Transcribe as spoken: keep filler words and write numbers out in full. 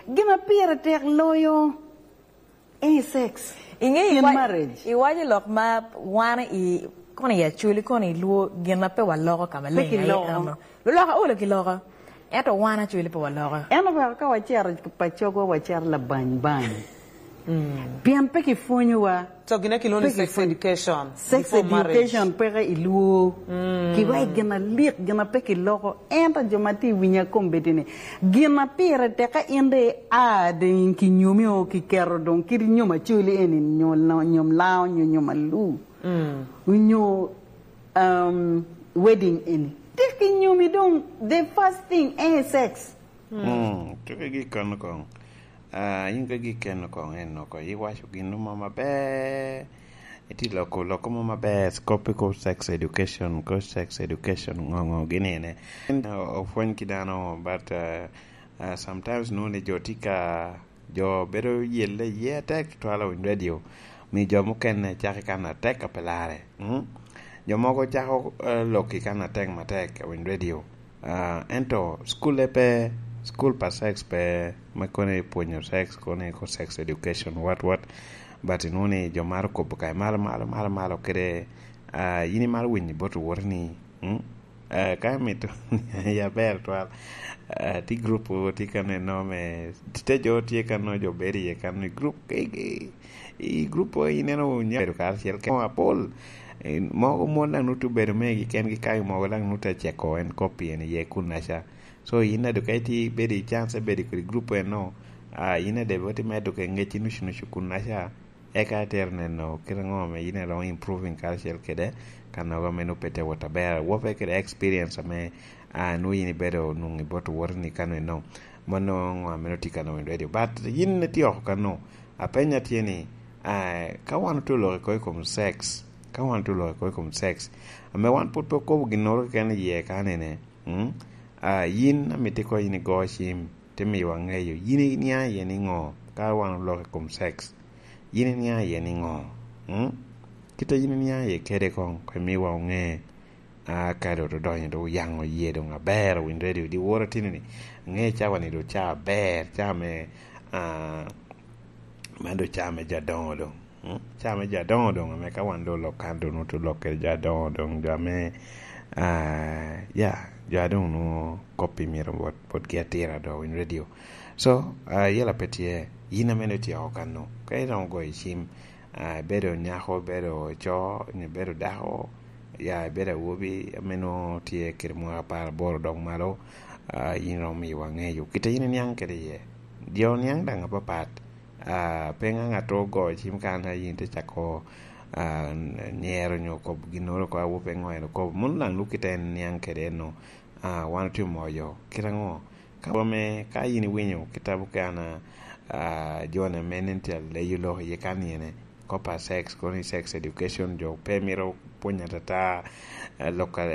Gin a pire tek loyo, eh, sex. Inge in iwa-, marriage. Iwaco lok ma wan i, kono i Acholi, kono i Luo, gin a pe waloko ka maleng. Pe kiloko. Aye, ama. Luloka olo kiloko. Ento wan Acholi pe waloko. Ento wek ka wacero pacogwa, wacero labany bany. Mm. Pien pe kipwonyowa. So, gin a kilwongo ni pe sex kipwonyo. Education sex before marriage. Education peke i Luo. Mm. Kiwa i gin alik, gin a pe kiloko. Ento jo ma tye i winya kombeddi ni, gin a pire tek ka in de a doŋ kinyomi o kiketo doŋ kit nyom Acholi eni, nyo la-, nyom Lango, nyo nyom Alu, mm, nyo, um, wedding eni. Tek kinyomi doŋ, the first thing, eh, sex. Mm, tuke gi kano koŋ. Ah, in ka gi keno koŋ en oko, iwaco gin mo maber. Itye loko, loko mo maber, kop i kop sex education, kop sex education, ŋo, ŋo, gin ene. En, o-, opwony ki dano, but, uh, uh, sometimes nwoŋo ni jo tye ka, jo bedo yelle iye atek tutwal i radio, mi jo mukene cako i kan atek a pe larre. Mm? Jo mogo cako, uh, lok i kan atek matek i radio. Ah, ento cukul pe, cukul pa sex pe, me kono i pwonyo sex, kono i ko sex education, what, what. But inwoŋo ni jo maro kobo ka malo, malo, malo, malo, kede, ah, in imaro winyo bot woti ni, mm? Ah, ka imito, ya ber twal. Ah, ti group tye ka neno me, te jo tye ka neno jo bedo iye ka neno i group, i, i, i group ineno nya bedo karacel kede apol. Eh, mogo mon daŋ nutu bedo megi kengi, ka mogo daŋ nutu aceko en kop pien iye kunnaca. So, in a doŋ ka itye ibedo i chance, ibedo kede group eno, ah, in a debe oti medo ke ŋec i nucu nucu kunnaca, eka itero neno kite ŋo ame in iromo improving karacel kede, ka nogo ame nwoŋo pe te wot aber. Wopere kede experience ame, ah, nwoŋo in ibedo nwoŋo i bot woti ni kano eno. Mano ŋo ame nwoŋo tye kano i radio. But in itye oko kano, apenya tye ni, ah, ka wan otye oloko i kom sex, ka wan otye oloko i kom sex, ame wan pwod pe okobo ginnoro keken iye kanene, mm? Ah, yin amito ikobo in igo cim, te miyowa ŋeyo, yin iniaŋ iye niŋo ka wan oloko i kom sex? Yin iniaŋ iye niŋo? Mm? Kit a yin iniaŋ iye kede koŋ, koŋ imiwa oŋe. Ah, ka doŋ odonyo, doŋ oyaŋo yie doŋ aber, owinyo ready, odi woro tini ni, ŋe cawa ni doŋ ca aber, ca me, ah, man doŋ ca me jo adoŋo doŋ. Mm? Ca me jo adoŋo doŋ, ame ka wan doŋ olok kan, doŋ oto lok kede jo adoŋo doŋ, jo ame, ah, ya, jo adoŋo nwoŋo kop-pi myero bot, botgi atira doŋ, owinyo radio. So, ah, yela pe tye, yin ame doŋ itye oko kan-nu, ka iromo goyo cim, ah, ibedo nyako, ibedo co, nyo ibedo dako, ya, ibedo awobi, ame nwoŋo tye kede mwaka apar aboro dok malo, ah, yin iromo miyowa ŋeyo kit a yin iniaŋ kede iye. Jo niaŋ daŋ apapat. Ah, pe ŋaŋ ato ogo cim kan a yin te cako, ah, nyero nyo kobo ginnoro ko, awope ŋo en okobo. Mano daŋ luk kit a en niaŋ kede eno. Ah, wan otye omoyo. Kit aŋo? Ka ame, ka yin iwinyo kitabu kan, ah, John ame nen tye aleyo lok iye kan yene, kop a sex, kono i sex education, jo pe mito pwony atata, eh, lok a